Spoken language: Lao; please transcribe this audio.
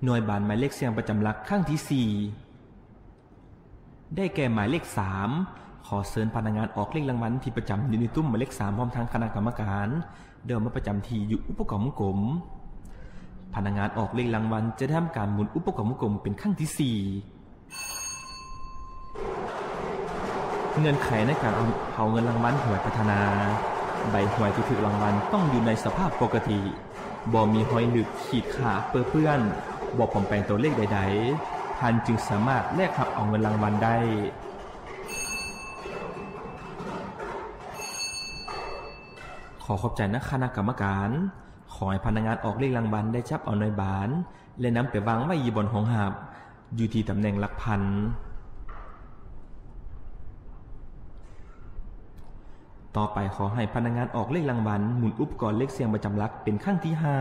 ໜ່ວຍບານໝາຍເລກສ່ຽງປະຈຳຫຼັກຄັ້ງທີສີ່ ໄດ້ແກ່ໝາຍເລກສາມ. ຂໍເຊີນພະນັກງານອອກເລກລາງວັນທີ່ປະຈຳຢູ່ໃນຕຸ້ມໝາຍເລກສາມ ພ້ອມທັງຄະນະກຳມະການ ເດີນມາປະຈຳທີ່ຢູ່ອຸປະກອນວົງກົມ. ພະນັກງານອອກເລກລາງວັນຈະໄດ້ທຳການໝູນອຸປະກອນວົງກົມເປັນຄັ້ງທີສີ່. ເງື່ອນໄຂໃນການເອົາເງິນລາງວັນຫວຍພັດທະນາ. ໃບຫວຍທີ່ຖືກລາງວັນຕ້ອງຢູ່ໃນສະພາບປົກກະຕິ, ບໍ່ມີຮອຍລຶກ, ຂີດຂາດ, ເປິເປື້ອນ, ບໍ່ປອມແປງຕົວເລກໃດໆ, ທ່ານຈຶ່ງສາມາດແລກຮັບເອົາເງິນລາງວັນໄດ້. ຂໍຂອບໃຈນະຄະນະກຳມະການ. ຂໍໃຫ້ພະນັກງານອອກເລກລາງວັນໄດ້ຈັບເອົາໜ່ວຍບານ ແລະ ນຳໄປວາງໄວ້ຢູ່ບ່ອນຮອງຮັບ ຢູ່ທີ່ຕຳແໜ່ງຫຼັກພັນ. ຕໍ່ໄປ, ຂໍໃຫ້ພະນັກງານອອກເລກລາງວັນໝູນອຸປະກອນເລກສ່ຽງປະຈຳຫຼັກເປັນຄັ້ງທີຫ້າ.